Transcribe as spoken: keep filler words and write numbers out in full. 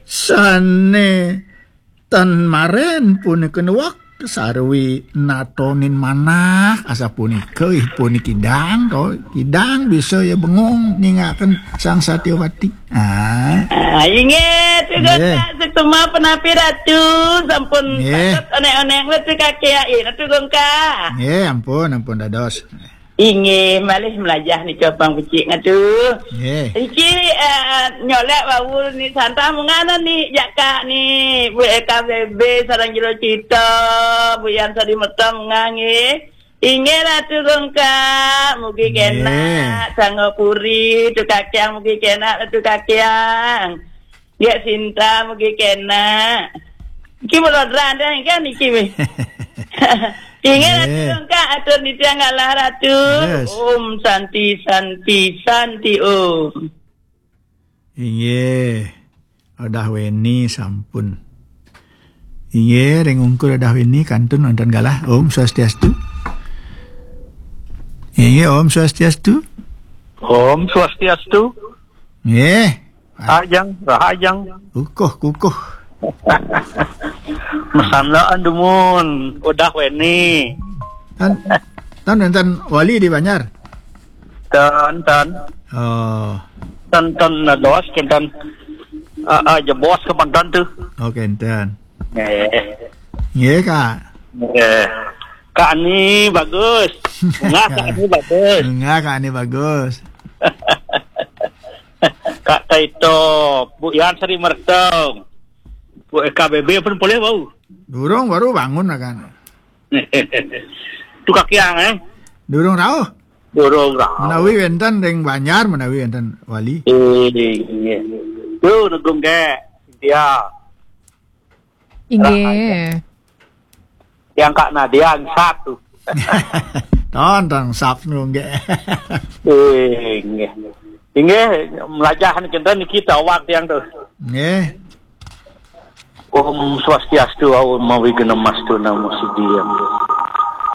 Sané tan marén punika nuwek sarwi natonin manah asapunika, ih, pun kidang to, kidang bisa ya bengong ningaken Sang Satyawati. Ah. Ah, inggih, Ratu Gongkak, suksma punapi Ratu, sampun patut onék-onék Ratu Kakéang, Ratu Gongkak. Nggih, ampun, ampun dados. Inggih, malih mlajah nika pang becik ngatu. Nggih. Iki, eh, nyolek wau ni santah mungana ni jaka ni, Bu K B B sareng Jero Cita, Bu Yan Sari Merta munggah nggih. Inggih Ratu Gongkak, mugi kenak Sangga Puri, Ratu Kakéang mugi kenak Ratu Kakéang. Nggih Sinta mugi kenak. Iki melodran deh kan iki wih. Inggih Ratu Gongkak, atur nitih galah Ratu. Om Santi, Santi, Santi Om. Inggih. Odah weni sampun. Inggih, ring ungkur Odah weni kantun wonten galah. Om Swastiastu. Inggih, Om Swastiastu. Om Swastiastu. Nggih. Ajeng, rahajeng. Kukuh, kukuh. Masandaan dumun, Odah weni. Tan, tan wénten wali di Banjar? Tan, tan. Oh. Tan, tan nados, tan, tan. Ah, ah, jebos ke pantan tuh. Oh, kenten. Nggih. Nggih, Kak. Nggih. Kak Ani bagus. Bunga Kak Ani bagus. Bunga Kak Ani bagus. Kak Taito, Bu Yan Sari Mertong. Bu K B B pun boleh bau. Durung baru bangun lah kan. Ratu Kakéang, eh? Durung rauh. Durung rauh. Menawi wénten ring Banjar, menawi wénten wali. Inggih. Yo, Ratu Gongkak. Ya. Inggih. Yang Kak Nadia satu. Ton, ton, sap nunggak. Inggih. Inggih, mlajah niki ten niki tawag tiang tuh. Nggih. Om Swastiastu, Om Awighnamastu, Namo Siddhiyam.